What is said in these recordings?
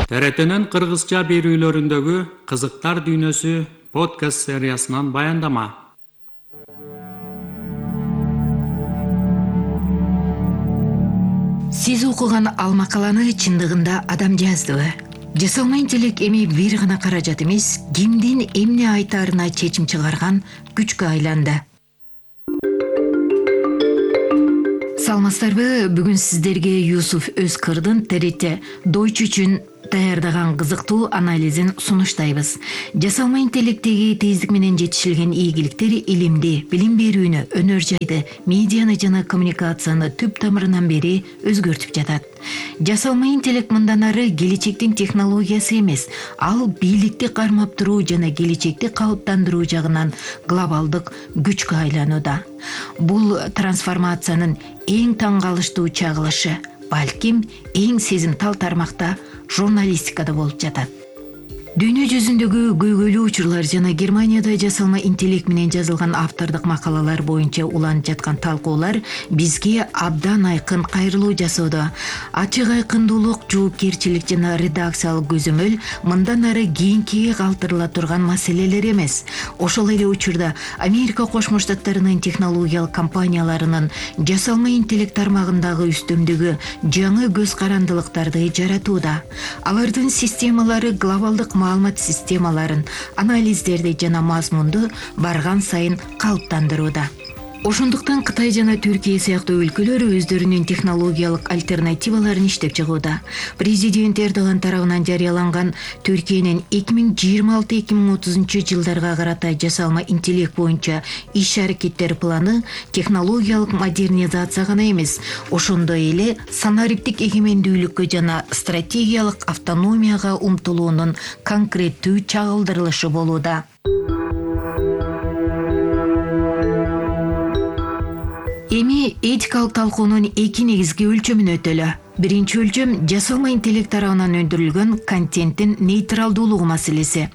ТРТнын кыргызча берүүлөрүндөгү кызыктар дүйнөсү подкаст сериясынан баяндама. Сиз окуган ал макаланы чындыгында адам жаздыбы? Жасалма интеллект эми бир гана каражат эмес, кимдин эмне айтаарына чечим чыгарган күчкө айланды. Саламатсыздарбы? Бүгүн сиздерге Юсуф Өзкырдын ТРТ Deutsch үчүн даярдаган кызыктуу анализин сунуштайбыз. Жасалма интеллекттеги тездик менен жетишилген ийгиликтер илимди, билим берүүнү, өнөр жайды, медианы жана коммуникацияны түп тамырынан бери өзгөртүп жатат. Жасалма интеллект мындан ары келечектин технологиясы эмес, ал бийликти кармап туруу жана келечекти калыптандыруу жагынан глобалдык күчкө айланууда. Бул трансформациянын эң таң калыштуу чагылышы, балким эң сезимтал тармакта журналистикада болуп жатат. Дүйнө жүзүндөгү көйгөйлүү учурлар жана Германияда жасалма интеллект менен жазылган автордук макалалар боюнча уланып жаткан талкуулар бизге абдан айкын кайрылуу жасоодо. Ачык айкындуулук, жоопкерчилик жана редакциялык көзөмөл мындан ары кийинкиге калтырыла турган маселелер эмес. Ошол эле учурда Америка Кошмо Штаттарынын технологиялык компанияларынын жасалма интеллект тармагындагы үстөмдүгү жаңы көз карандылыктарды жаратууда. Алардын системалары глобалдык маалымат системаларын, анализдерди жана мазмунду барган сайын калыптандырууда. Ошондуктан Кытай жана Түркия сыяктуу өлкөлөр өздөрүнүн технологиялык альтернативаларын иштеп чыгууда. Президент Эрдоган тарабынан жарыяланган Түркиянын 2026-2030 жылдарга карата жасалма интеллект боюнча иш-аракеттер планы технологиялык модернизация гана эмес, ошондой эле санариптик эгемендүүлүккө жана стратегиялык автономияга умтулуунун конкреттүү чагылдырылышы болууда. Эми этикалык талкуунун эки негизги өлчөмүн өтөлө. Биринчи өлчөм жасалма интеллект тарабынан өндүрүлгөн контенттин нейтралдуулугу маселеси.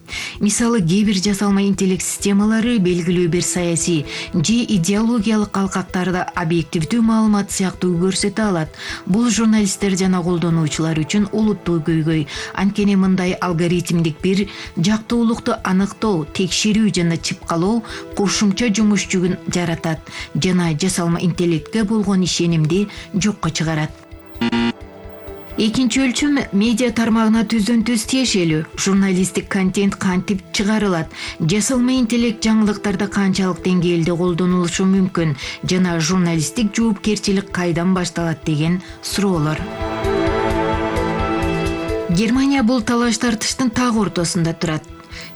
Мисалы, кээ бир жасалма интеллект системалары белгилүү бир саясий же идеологиялык калкактарды объективдүү маалымат сыяктуу көрсөтө алат. Бул журналисттер жана колдонуучулар үчүн олуттуу көйгөй. Анткени мындай алгоритмдик бир жактуулукту аныктоо, текшерүү жана чыпкалоо кошумча жумуш жүгүн жаратат жана жасалма интеллектке болгон ишенимди жокко чыгарат. Экинчи өлчөм медиа тармагына түздөн түз тиешелүү. Журналисттик контент кантип чыгарылат, жасалма интеллект жаңылыктарды канчалык деңгээлде колдонулушу мүмкүн жана журналисттик жоопкерчилик кайдан башталат деген суроолор. Германия бул талаш тартыштын так ортосунда турат.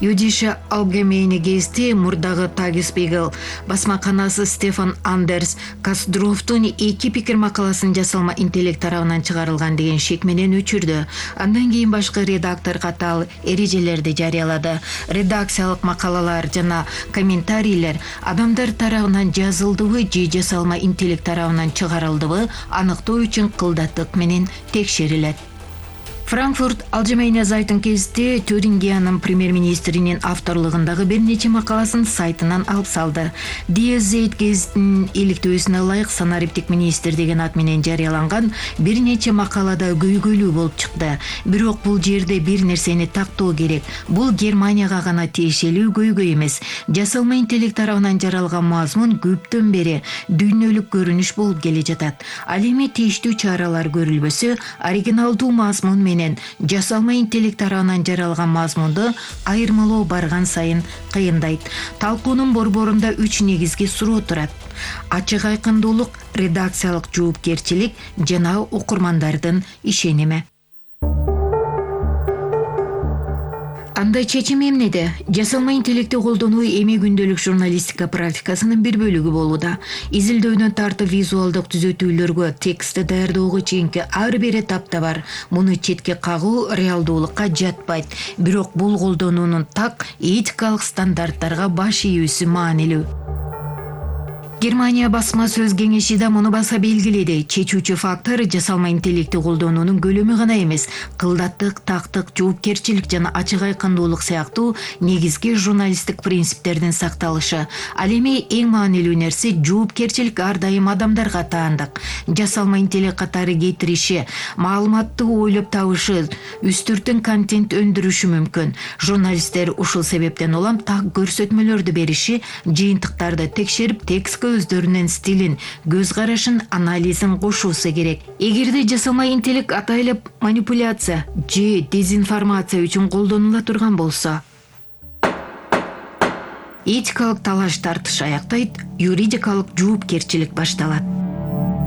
Юдише Allgemeine Gazette мурдагы Tagesspiegel басмаканасы Стефан Андерс Кастдрофтун эки пикир макаласын жасалма интеллект тарабынан чыгарылган деген шек менен өчүрдү. Андан кийин башкы редактор катал эрежелерди жарыялады. Редакциялык макалалар жана комментарийлер адамдар тарабынан жазылдыбы же жасалма интеллект тарабынан чыгарылдыбы аныктоо үчүн кылдаттык менен текшерилет. Франкфурт Allgemeine Zeitung кезите Тюрингиянын премьер-министринин авторлугундагы бир нече макаласын сайтынан алып салды. Die Zeit кезитинин иликтөөсүнө ылайык санариптик министр деген ат менен жарыяланган бир нече макалада көйгөйлүү болуп чыкты. Бирок бул жерде бир нерсени тактоо керек. Бул Германияга гана тиешелүү көйгөй эмес. Жасалма интеллект тарабынан жаралган мазмун көптөн бери дүйнөлүк көрүнүш болуп келе жатат. Ал эми тийиштүү чаралар көрүлбөсө, оригиналдуу мазмун менен жасалма интеллект тарабынан жаралган мазмунду айырмалоо барган сайын кыйындайт. Талкуунун борборунда 3 негизги суроо турат: ачык айкындуулук, редакциялык жоопкерчилик жана окурмандардын ишеними. Анда чечим эмнеде? Жасалма интеллектти колдонуу эми күндөлүк журналистика практикасынын бир бөлүгү болууда. Изилдөөнөн тартып визуалдык түзөтүүлөргө, текстти даярдөөгө чейинки ар бир этапта бар. Муну четке кагуу реалдуулукка жатпайт. Бирок бул колдонуунун так этикалык стандарттарга баш ийүүсү маанилүү. Германия басма сөз кеңеши да муну баса белгиледи. Чечүүчү фактор жасалма интеллекти колдонуунун көлөмү гана эмес, кылдаттык, тактык, жоопкерчилик жана ачык айкындуулук сыяктуу негизги журналисттик принциптердин сакталышы. Ал эми эң маанилүү нерсе жоопкерчилик ар дайым адамдарга таандык. Жасалма интеллект катары кетириши, маалыматты ойлоп табышы, үстүртүн контент өндүрүшү мүмкүн. Журналисттер ушул себептен улам так көрсөтмөлөрдү бериши, жыйынтыктарды текшерип, текстке өздөрүнүн стилин, көз карашын, анализин кошуусу керек. Эгерде жасалма интеллект атайлап манипуляция же дезинформация үчүн колдонула турган болсо, этикалык талаш тартыш аяктайт, юридикалык жоопкерчилик башталат.